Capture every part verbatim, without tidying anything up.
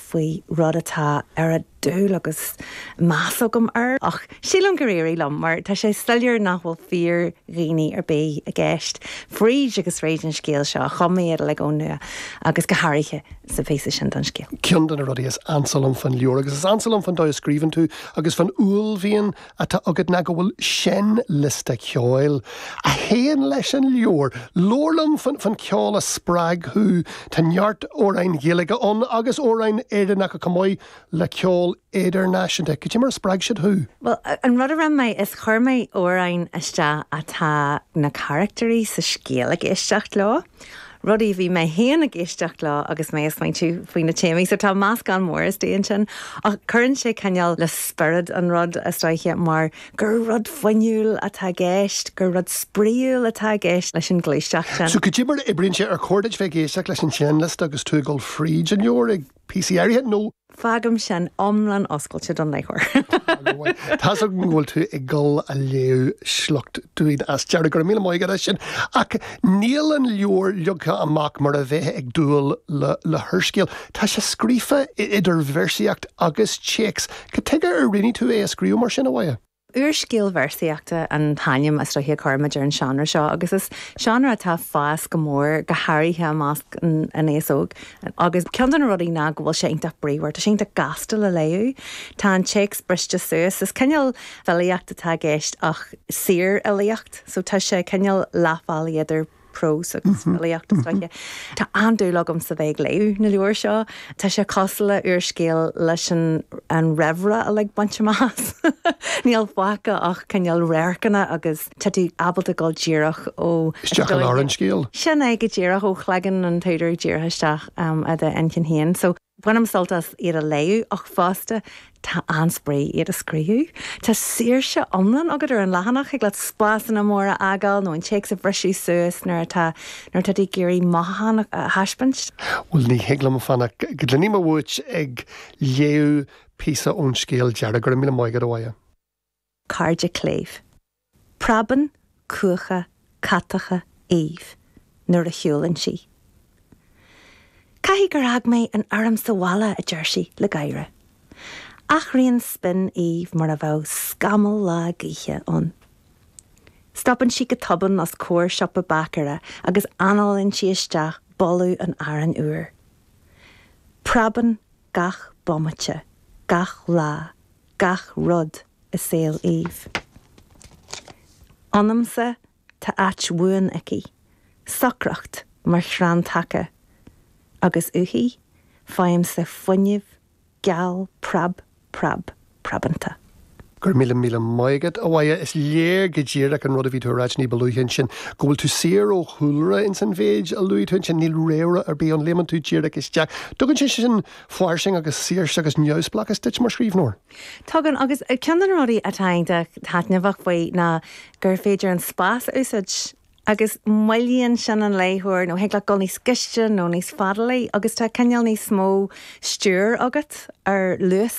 faoi rud atá ar a dúil agus meas agam air ach sílim gur éirigh liom mar tá sé soiléir nach bhfuil fíordhaoine ar bith i gceist. Fríd agus fríd an scéal seo chum mé iad le go nua agus go háirithe sa phíosa sin den scéal. Ceann de na rudaí is ansa liom faoin leabhar agus is ansa liom faoin dóigh a scríobhann tú agus faoin uaillmhian atá agat ná go bhfuil seinnliosta ceoil a théann leis an leabhar. Labhair liom faoin ceol a spreag thú Tá neart amhráin Ghaeilge ann agus amhráin Éireannacha chomh maith le ceol idirnáisiúnta. Cad é mar a spreag siad thú? Well, an rud a rinne mé is chuir mé amhráin isteach atá na carachtarí sa scéal ag éisteacht leo. Rudaí bhí mé féin ag éisteacht leo agus mé ag smaointiú faoi na téamaí, so tá meascán mór istigh ansin ach cuireann sé cineál le spiorad an rud is dóiche mar gur rud fuinniúil atá i gceist, gur rud spraíúil atá i gceist leis an ghluaiseacht sin. So cad é mar a oibríonn sé ar chóir duit bheith ag éisteacht leis an seinnliosta agus tú ag dul fríd an leabhar ag píosaí áirithe nó Fágaim sin iomlán oscailte don léitheoir. Tá go bhfuil tú ag dul a léamh sliocht dúinn as deireadh go míle maith agat sin ach níl an leabhar leagtha amach mar a bheith ag dúil le, le húrscéal. Tá sé scríofa idir véarsaíocht agus téacs. Cad chuige ar roghnaigh tú é a scríobh mar sin a Mháire? Úrscéal véarsaíochta an t-ainm is dóiche a chuirimid ar an seánra seo agus is seánra atá ag fás go mór go háirithe i measc an aos óg agus ceann de na rudaí ná go bhfuil sé iontach bríomhar, Tá sé iontach gasta le léamh. Tá an téacs briste suas is cineál filíocht atá i gceist ach saorfhilíocht, so tá sé cineál leathbhealaigh idir prós agus filíocht is dóiche. Tá an-dúil agam sa bheith ag léamh na leabhar seo. Tá sé cosúil le úrscéal leis an an réamhrá a le baint amach. Níl fágtha ach cineál radharcanna agus tá tú ábalta dul díreach ó Isteach i lár an scéil. Sin é go díreach ó chloigeann an t-údar díreach isteach um, i d'intinn féin. So Bainim sult as iad a léamh ach fosta tá an-spraoi iad a scríobh. Tá saoirse iomlán agat ar an leathanach ag le spásanna móra a fhágáil nó an téacs a bhriseadh suas nuair atá nuair atá ag iarraidh mothúchán a thaispeáint. Well ní thig liom fanacht go gcluinfidh mé uait ag léamh píosa ón scéal deireadh go míle maith agat a Mháire. Cairde cléibh. Preabann cuacha catacha Eve nuair a shiúlann sí. Caithfidh gur fhág mé an fhoirm sa bhaile a deir sí le gáire. Athraíonn spin Eve mar a bheadh scamall lá gaoithe ann. Stopann sí go tobann os comhair siopa báicéara agus análaíonn sí isteach boladh an aráin úir. Preabann gach bomaite, gach lá, gach rud i saol Eve. Ionamsa tá áit bhuan aici, socracht mar chrann taca, agus uaithi faighimse fuinneamh geal preab preab preabanta. Gur míle míle maith agat a Mháire is léir go díreach an rud a bhí tú ag rá ní ba luaithe ansin go bhfuil tú saor ó chúlra in san mhéid a luaigh tú ansin níl réamhrá ar bith ann léimeann tú díreach isteach. Tugann sé sin fairsinge agus saoirse agus neamhspleáchas duit mar scríbhneoir. Tugann agus ceann de na rudaí atá taitneamhach faoi ná gur féidir an spás a úsáid agus moillíonn sin an léitheoir nó thig leat dul níos gaiste nó níos fadalaí agus tá cineál níos mó stiúir agat ar luas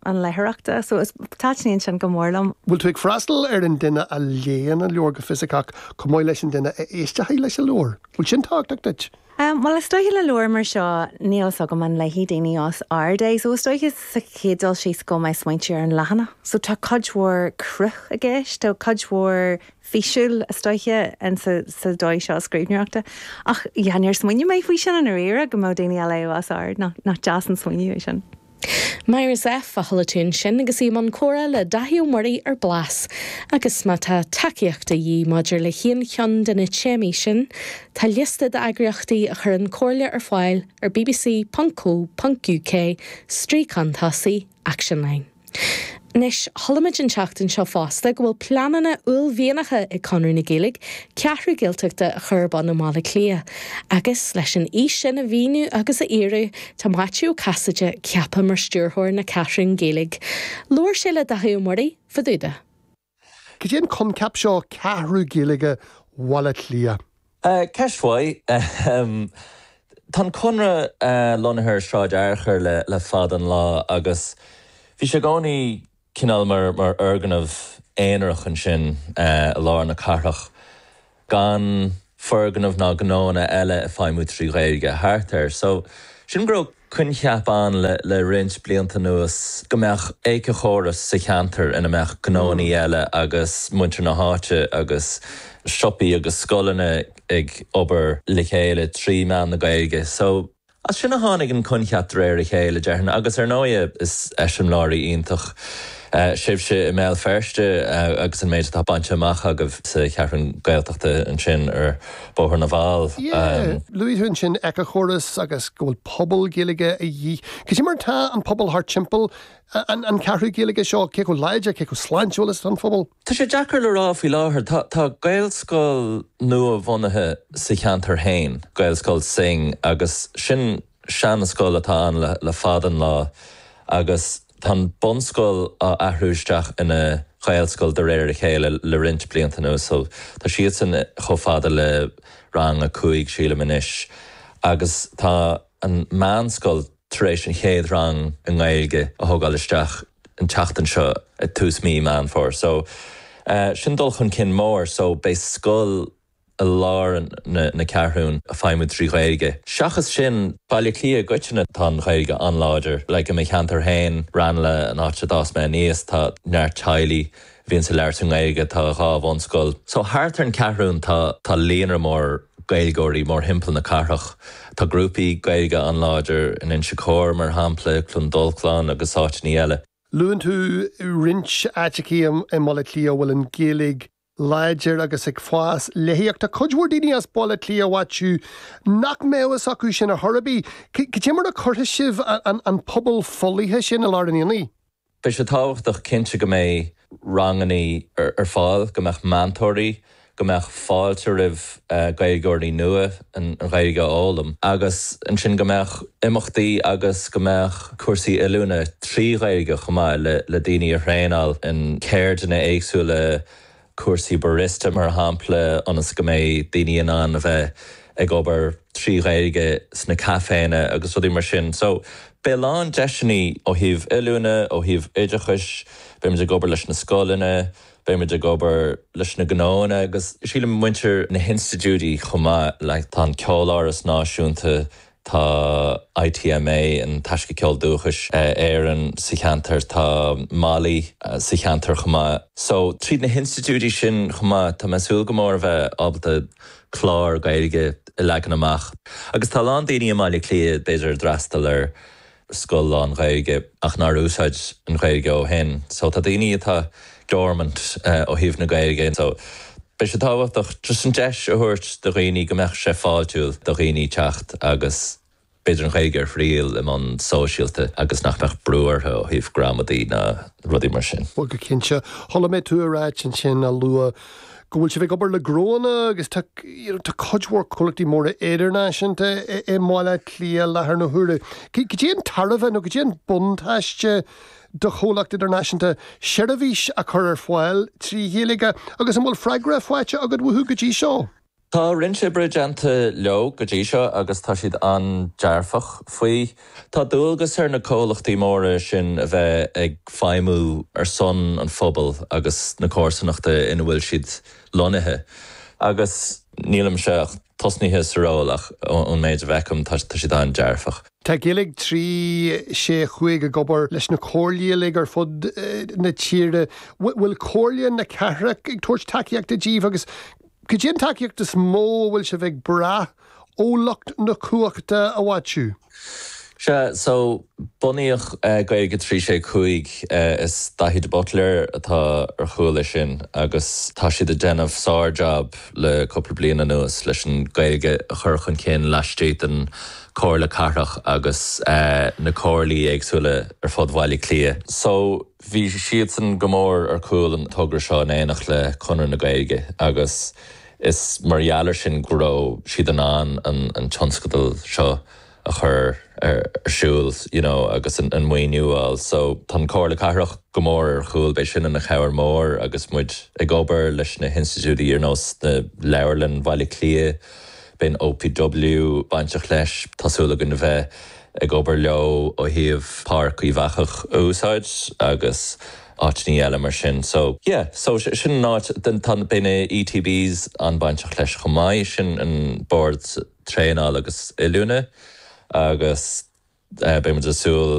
an léitheoireachta, so is taitníonn sin go mór liom. Bhfuil tú ag freastal ar an duine a léann an leabhar go fisiceach chomh maith leis an duine a éisteann leis an leabhar. Bhfuil sin tábhachtach duit? Um, well is dóiche le leabhar mar seo níl a fhios agam an léifidh daoine os ard é, so is dóiche sa chéad dul síos go mbeidh smaointe ar an leathanach. So tá cuid mhór cruth i gceist, tá cuid mhór físiúil is dóiche in sa, sa dóigh seo scríbhneoireachta. Ach yeah, níor smaoinigh mé faoi sin i ndáiríre go mbeadh daoine á léamh os ard nach, nach deas an smaoineamh é sin. Máire Zepf a chuala tú ansin agus í i mbun comhrá le Daithí Ó Muirí ar Blas, agus má tá tacaíocht de dhíth maidir le haon cheann de na téamaí sin, tá liosta d'eagraíochtaí a chuireann comhairle ar fáil ar bbc.co.uk stríocán tosaigh Actionline. Anois chuala muid an tseachtain seo fosta go bhfuil pleananna uaillmhianacha ag Conradh na Gaeilge ceathrú Gaeltachta a chur ar bun i mBaile Átha Cliath. Agus leis an fhís sin a mhíniú agus a fhíorú tá Maitiú Ó Casaide ceaptha mar stiúrthóir na Ceathrún Gaeilge. Labhair sé le Daithí Ó Muirí fadúda. Cad é an coincheap seo ceathrú Gaeilge Bhaile Átha Cliath. Uh, Ceist mhaith um, Tá an Conradh uh, lonnaithe ar Sráid Fhearchair le, le fada an lá agus bhí sé i gcónaí cineál mar mar fhoirgneamh aonarach ansin uh, i lár na cathrach gan foirgneamh ná gnóanna eile ag feidhmiú trí Ghaeilge thart air. So Sin go raibh coincheap ann le le roinnt blianta anuas go mbeadh éiceachóras sa cheantar ina mbeadh gnónna eile agus muintir na háite agus siopaí agus scoileanna ag obair le chéile trí mheán na Gaeilge. So as sin a tháinig an coincheap de réir a chéile déarfainn agus ar ndóigh is eiseamláirí iontach uh, sibhse i mBéal Feirste uh, agus an méid atá bainte amach agaibh sa Cheathrú Gaeltachta ansin ar Bhóthar na bhFál. Um, Luaigh tú ansin éiceachóras agus go bhfuil pobal Gaeilge a dhíth. Cad é mar tá an pobal thart timpeall an, an cheathrú Gaeilge seo cé chomh láidir cé chomh sláintiúil is an phobal? Tá sé deacair le rá faoi láthair Tá, tá Gaelscoil nua-bhunaithe sa cheantar féin, Gaelscoil Synge agus sin seanscoil atá ann le, le fada an lá agus tá bunscoil á athrú isteach ina Ghaelscoil de réir a chéile le roinnt blianta anuas so tá siad sin chomh fada le rang a cúig sílim anois agus tá an meánscoil tar éis an chéad rang i nGaeilge a thógáil isteach an tseachtain seo ag tús mí Meán Fómhair. So uh, sin dul chun cinn mór so beidh scoil i lár na, na ceathrún ag feidhmiú trí Ghaeilge. Seachas sin Baile Átha Cliath i gcoitinne tá an Ghaeilge an-láidir, le go mé cheantar féin Ranelagh an áit a d'fhás mé aníos tá neart teaghlaigh bhíonn ag labhairt i nGaeilge tá dhá bhunscoil. So thart ar an cheathrún tá tá líonra mór Gaeilgeoirí mórthimpeall na cathrach. Tá grúpaí Gaeilge an-láidir in Inse Chór mar shampla Cluain Dolcláin agus áiteanna eile. Luann tú roinnt áiteacha i mBaile Átha Cliath bhfuil an Ghaeilge láidir agus ag fás léi ach tá cuid mhór daoine as Baile Átha Cliath b'fhéidir nach mbeadh fhios acu sin ar chor ar bith. Cad é mar a chuirfidh sibh an, an pobal folaithe sin i lár an aonaigh? Beidh sé tábhachtach cinnte go mbeidh ranganna ar, ar fáil, go mbeadh meantóirí, go mbeadh fáilte roimh uh, Gaeilgeoirí nua an, an Ghaeilge a fhoghlaim. Agus ansin go mbeadh imeachtaí agus go mbeadh cúrsaí oiliúna trí Ghaeilge chomh maith le, le daoine a thraenáil in ceirdeanna éagsúla cúrsaí barista mar shampla ionas go mbeidh daoine in ann a bheith ag obair trí Ghaeilge sna caiféanna agus rudaí mar sin. So beidh lán deiseanna ó thaobh oiliúna, ó thaobh oideachais, beimid ag obair leis na scoileanna, beimid ag obair leis na gnónna agus sílim muintir na hinstitiúidí chomh maith le tá an Ceoláras Náisiúnta tá ITMA an Taisce Ceol Dúchais Éireann sa cheantar tá Molly sa cheantar chomh maith. So tríd na hinstitiúidí sin chomh maith tá mé ag súil go mór a bheith ábalta clár Gaeilge a leagan amach. Agus tá lán daoine i mBaile Átha Cliath b'fhéidir d'fhreastail ar scoil lán-Ghaeilge ach nár úsáid an Ghaeilge ó shin. So tá daoine atá dormant uh, ó thaobh na Gaeilge. So Beidh sé tábhachtach just an deis a thabhairt do dhaoine go mbeadh sé fáiltiúil do dhaoine teacht agus b'fhéidir an Ghaeilge a thriail i mbonn sóisialta agus nach mbeadh brú orthu ó thaobh gramadaí ná rudaí mar sin. Well go cinnte chuala mé tú ag ráit ansin a luath go bhfuil sibh ag obair le gnónna agus tá cuid mhór comhlachtaí móra idirnáisiúnta i mBaile Átha Cliath láthair na huaire. Cad é an tairbhe nó cad é an buntáiste do chomhlacht idirnáisiúnta seirbhís a chur ar fáil trí Ghaeilge agus an bhfuil freagra faighte agat uathu go dtí seo. Tá roinnt oibre déanta leo go dtí seo agus tá siad an-dearfach faoi. Tá dualgas ar na comhlachtaí móra sin a bheith ag feidhmiú ar son an phobail agus na comharsanachta ina bhfuil siad lonnaithe. Agus nílimse ach tosnaithe sa ról ach ón méid a bhfeicim tá siad an-dearfach. Tá Gaeilge trí sé cúig ag obair leis na comhairlí ar fud na tíre, bhfuil comhairle na cathrach ag tabhairt tacaíochta daoibh agus cad é an tacaíocht is mó bhfuil sibh ag brath ó lucht na cumhachta a bhfaightear. Sea, so bunaíodh uh, Gaeilge trí sé cúig uh, is Daithí de Buitléar atá ar chúl leis sin agus tá siad ag déanamh sár-jab le cúpla bliain anuas leis an Gaeilge a chur chun cinn laistigh den Comhairle Cathrach agus uh, na comhairlí éagsúla ar fud Bhaile Átha Cliath. So bhí siadsan go mór ar chúl an togra seo in éineacht le Conradh na Gaeilge agus is mar gheall air sin go raibh siad in ann an, an tionscadal seo a chur ar siúl you know, agus an, an maoiniú a fháil. So tá Comhairle Cathrach go mór ar chúl beidh sin ina chabhair mór agus muid ag obair leis na hinstitiúidí ar nós na Leabharlann Bhaile Átha Cliath, beidh OPW bainteach leis tá súil againn a bheith ag obair leo ó thaobh Páirc Uíbh Eachach a úsáid agus áiteanna eile mar sin. So yeah, so sin an áit tá beidh na ETBs an-bainteach leis chomh maith sin an bord traenála agus oiliúna. agus beidh muid ag súil